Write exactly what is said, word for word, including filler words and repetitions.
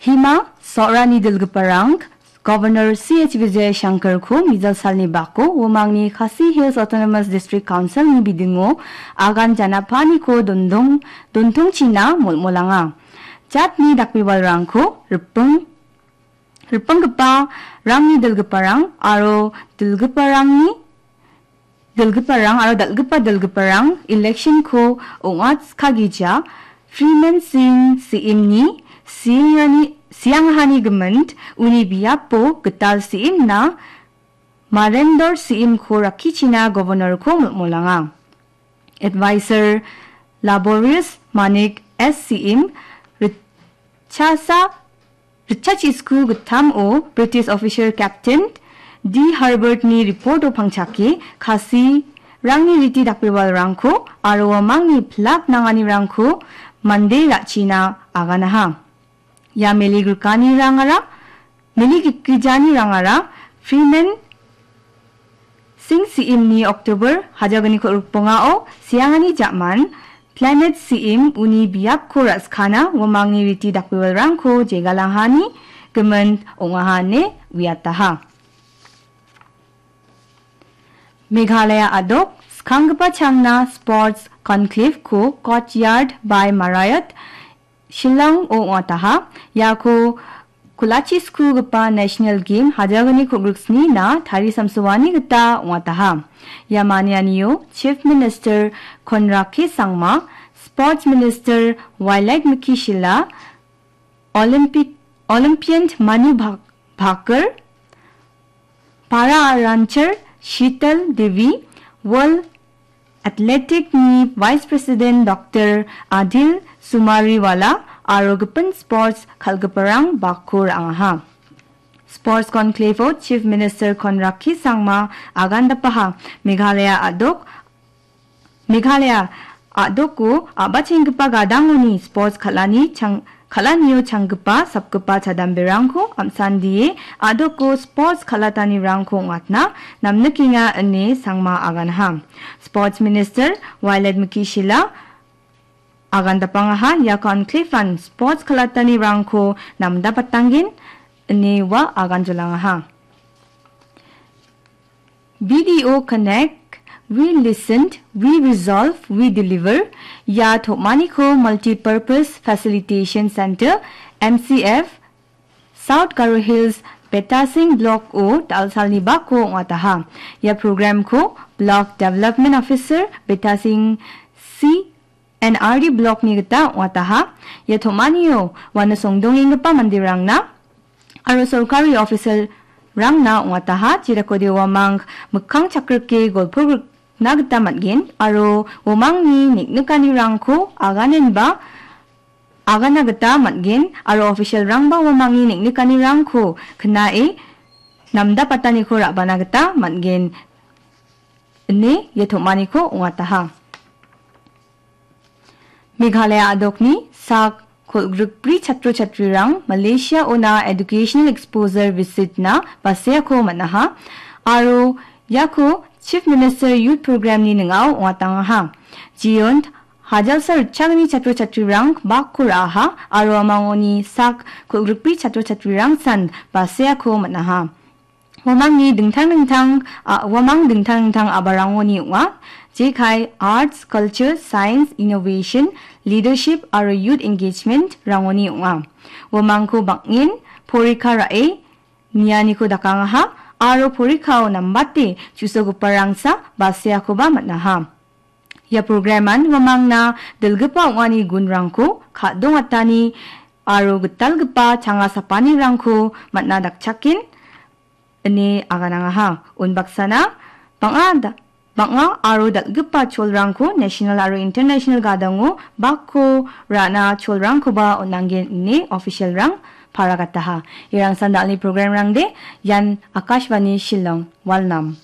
Hima so·rani dilgiparang Governor C H Vijayashankarko mijal salni bako uamangni Khasi Hills Autonomous District Councilni bidingo agan janapaniko dondong-, dontongchina molmolanga. Jatni dakbebalrangko ripeng-, ripenggipa rangni dilgiparang aro dilgiparangni dilgiparang aro dal·gipa dilgiparang election-ko ong·atskagija Freeman Singh C M-ni siengrani, siangrahani gimin uni biapo gital C M-na Marendor C M-ko rakkichina Governor-ko molmolanga. Advisor Laborious Manik S C M ritchasa ritchachisku gittamo British officer Captain D Herbert-ni report-o pangchake Khasi rangni riti dakbebalrangko aro uamangni pilak nanganirangko mande ra·china aganaha. Ia meli grikanirangara, meli gikgijanirangara Freeman Singh C M-ni October hajagniko rikbongao siangani ja·man Planet C M uni biapko ra·skana uamangni riti dakbebalrangko jegalangani gimin ong·aha ine uiataha. Meghalaya a·dok skanggipa changna Sports Conclave-ko Courtyard by Marriott Shillong-o ong·ataha. Iako kulachi skugipa National Game hajagniko griksnina tarisamsoani gita ong·ataha. Ia manianio Chief Minister Conrad K Sangma, Sports Minister Wailadmiki Shylla, Olympic, Olympian Manu Bhak-, Bhaker, Para rancher Sheetal Devi, World Athletic-ni Vice President Doctor Adil Sumariwala aro gipin sports kal·giparang bako ra·angaha. Sports Conclave-o Chief Minister Conrad K Sangma agandapaha. Meghalaya a·dok Meghalaya a·doko a·bachenggipa gadangoni sports kal·ani chang-, kal·anio changgipa sapgipa chadamberangko am·sandie a·doko sports kal·atanirangko ong·atna namnikenga ine Sangma aganha. Sports Minister Wailadmiki Shylla agandapangaha ia conclave-an sports kal·atanirangko namdapatanggen ine ua aganjolangaha. B D O Connect, We Listened, We Resolve, We Deliver, ia tom·aniko Multipurpose Facilitation Center, M C F, South Garo Hills, Betasing Block-o dal·salni bako ong·ataha. Ia program-ko Block Development Officer, Betasing C N R D Block-ni gita ong·ataha. Ia tom·anio uano songdongenggipa manderangna aro sorkari official-rangna ong·ataha, jedakode uamang mikkang chakrike golpo grikna gita man·gen aro uamangni neng·nikanirangko aganenba agana gita man·gen aro official-rangba uamangni neng·nikanirangko knae namdapataniko ra·bana gita man·gen ine ia tom·aniko ong·ataha. Meghalaya a·dokni sak kolgrikbri chatro chatrirang Malaysia-ona educational exposure visit-na baseako man·aha aro iako Chief Minister Youth Program-ni ning·ao ong·atangaha. Jeon hajalsa ritchagni chatro chatrirang bakko ra·aha aro uamangoni sak kolgrikbri chatro chatrirangsan baseako man·aha. Uamangni dingtang dingtang, a-, uamang dingtang dingtang a·balrangoni ong·a. Jekai Arts, Culture, Science, Innovation, Leadership aro Youth Engagement-rangoni ong·a. Uamangko bang·en porikha ra·e nianiko dakangaha aro porikhao nambate chu·sogiparangsa baseakoba man·aha. Ia program-an uamangna dilgipa ong·ani gunrangko ka·dongatani aro gitalgipa changa sapanirangko man·a dakchaken ine aganangaha. Unbaksana bang·a da-, bang·a aro dal·gipa cholrangko national aro international gadango bakko ra·na cholrangkoba on·anggen ine official-rang paragataha. Irangsan dal·ni program-rangde, ian Akashvani Shillong, Walnam.